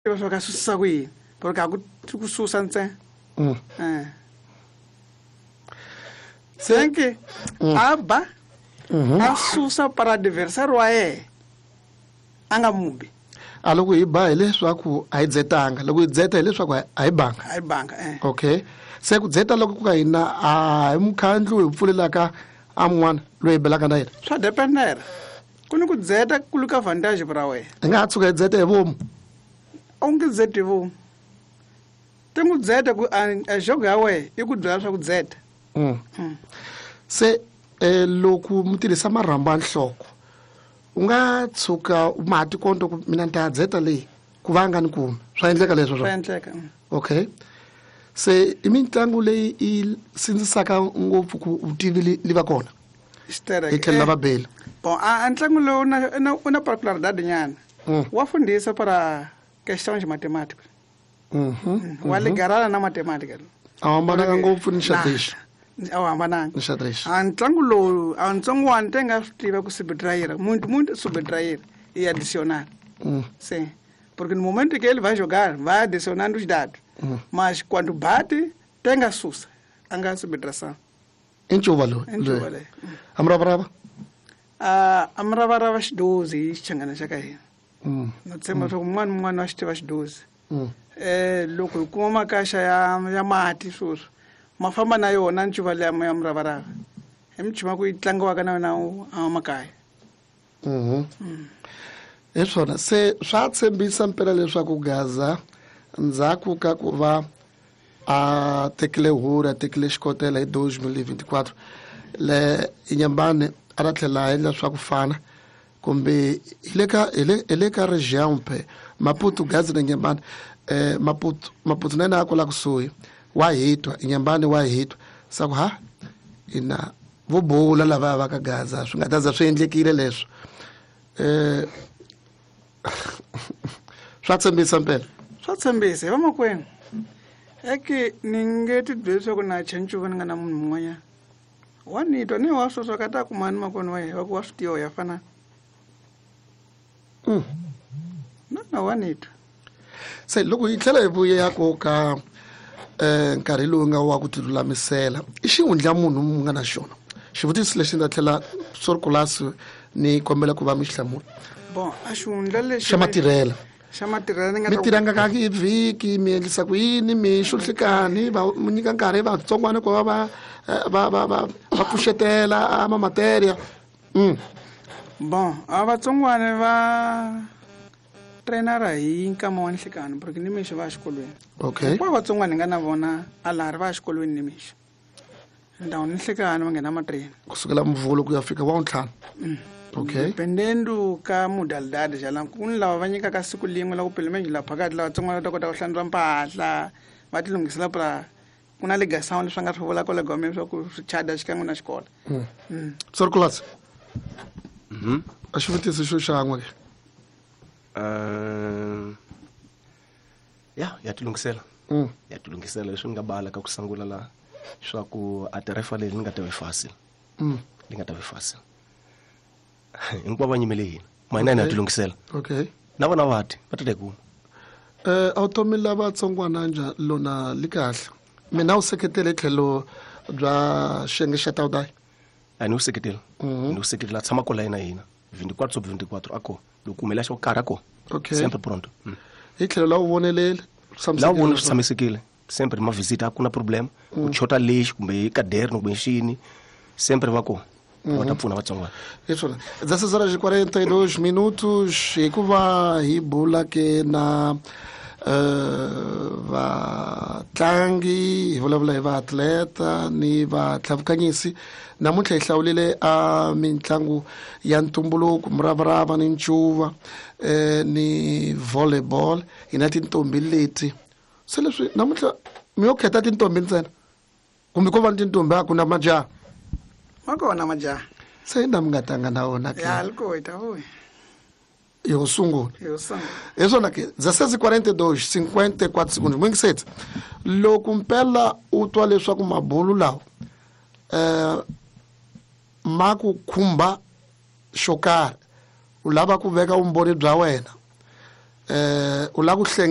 Tiva swa ka susisa ku yini porque a ku ku susa ntsena. Senke a ba a susa para adversário wa yena a nga mubi. A loko hi ba hileswaku a hi dzetanga, loko hi dzeta hileswaku a hi banga. A hi banga eh. Okay, se ku dzeta loko ku ka hina a hi mukhandlu hi pfulelaka a mun'wana loyi hi belaka na yena. Swa dependera ku ni ku dzeta ku luka vantage ra wena. Hi nga ha tshuka hi dzeta hi vomu. A wu nge dzeti hi vomu, ti n'wi dzeta ku a jogo ya wena i ku byela swa ku dzeta. Se loko mi tirhisa marhambu ya nhloko u nga tshuka ma ha tikonto ku mina ni ta dzeta leyi ku va nga ni kumi, swa endleka leswo? Swa endleka. Okay, se i mitlangu leyi i sindzisaka ngopfu ku vutivi li va kona xitereke hi tlhelo la vabeli. Bon, a ntlangu lowu u na particularidade nyana. Wa fundisa para questões matemáticas. Wa ligarana na matemática. A hambananga ngopfu ni xadrez. A wu hambananga ni xadrez. A ntlangu lowu a ntsongwana te nga swi tiva ku subtrair muito muito, subtrair e adicionar. Sim, porque no momento que ele vai jogar vai adicionando os dados, mas quando bate tem a susa a nga subtração. I ncuva lowu? I ncuva leyi. A muravarava? A muravarava xidozi hi xichangana xa ka hina. No tshemba swa ku un'wana un'wana wa xi tiva xidozi. Loko hi kuma makaxa ya mati sweswi ma famba na yona ncuva liya ya muravarava, hi michuma ku yi tlangiwaka na yona a makaya. Hi swona, se swa tshembisa mpela leswaku Gaza ndzhaku ka ku va a tekile huri, a tekile xikotela hi 2024 le Inyambane, a ta tlhela a endla swa ku fana kumbe hi le ka region phe Maputo. Gaza na Inyambane, Maputo na yena a kwala kusuhi wa hitwa, Inyambane wa hitwa sa ku ha ina vo bula lava va ka Gaza swi nga ta za swi endlekile leswo. Swa tshembisa mpela. Swa tshembisa hi vamakwenu eke ni nge ti byeli leswaku na chancuva ni nga na munhu mun'wanyana wa ni twa ni wa sweswo ka ta kumani makwenu wa yena va ku wa swi tiva ya fana. Na wa ni twa. Se loko hi tlhela hi vuya ku ka nkarhi lowu nga wa ku tilulamisela, i xihundla munhu mu nga na xona xivutiso lexi ni ta tlhela sorkulasi ni kombela ku va mi xi hlamula. Bon, a xihundla lexi xa matirhela. Xa matirhela ni nga mi ta ku- tirhanga ka hi vhiki, mi endlisa ku yini, mi xuhlikani va mi nyika nkarhi vatsongwana ku va va pfuxetela a ma materia? Bon, a vatsongwana va trainara hi nkama wa nhlikani porque ni mixo va ya xikolweni. Hinkwavo vatsongwana hi nga na vona a laha ri va ya xikolweni ni mixo ndhawu ni nhlikani va nghena matreni. Kusukela Muvhulo ku ya fika wa ntlhanu. Okay. Dependendo ka modalidade jala ku ni lava va nyikaka siku lin'we la ku pelo menos la phakathi lava vatsongwana va ta kota ku hlantswa mpahla va ti lunghisela pra ku na ligação leswi va nga swi vulaka le gomeni swa ku swi chada xikan'we na xikolo. Sorkulasi, a xivutiso xo xan'we ke. Ya tilunghisela. Ya tilunghisela leswi ni nga bala ka ku sungula la swa ku a tarefa leyi ni nga ta vi fácil. Li nga ta vi fácil. Hinkwavo va nyimele hina. Mina ni ya tilunghisela. Na vona va ti, va ta ta kuma. A wu tomi lava tsongwana njha lona li kahle. Mina wu seketele tlhelo bya xiyenge xa Tawudai. A ni wu seketeli. Ni wu seketela a tshama kwala na hina. 24 sobre 24 a ko. Loko kumela xo karhi a ko. Sempre pronto. Hi tlhelo la wu vonelele, swi La wu vona tshamisekile swi tshamisekile. Sempre ma visit a ku na problem. Ku chota lexi kumbe hi kaderno kumbe xini. Sempre va ko. Va ta pfuna vatsongwana. Hi swona. 16 horas e 42 minutos, hikuva hi bula ke na vatlangi, hi vulavula hi vaatleta ni vatlhavukanyisi. Namuntlha hi hlawulile a mitlangu ya ntumbuluko, muravarava ni ncuva, ni volleyball. Hi na tintombi leti. Se leswi namuntlha mi yo khetha tintombi ntsena kumbe ko va ni tintombi a ku na majaha? Ma kona majaha. Se na mi nga tanga na wona ke? Ya, liko hi ta vuya. Yo sungula. Yo sungula. Hi swona ke, 16:42, 54 segundos. Mwingiseti, loko mpela u twa leswaku mabulu lawa ma ku khumba xo karhi, u lava ku veka vumbhoni bya wena, U lava ku hlenge.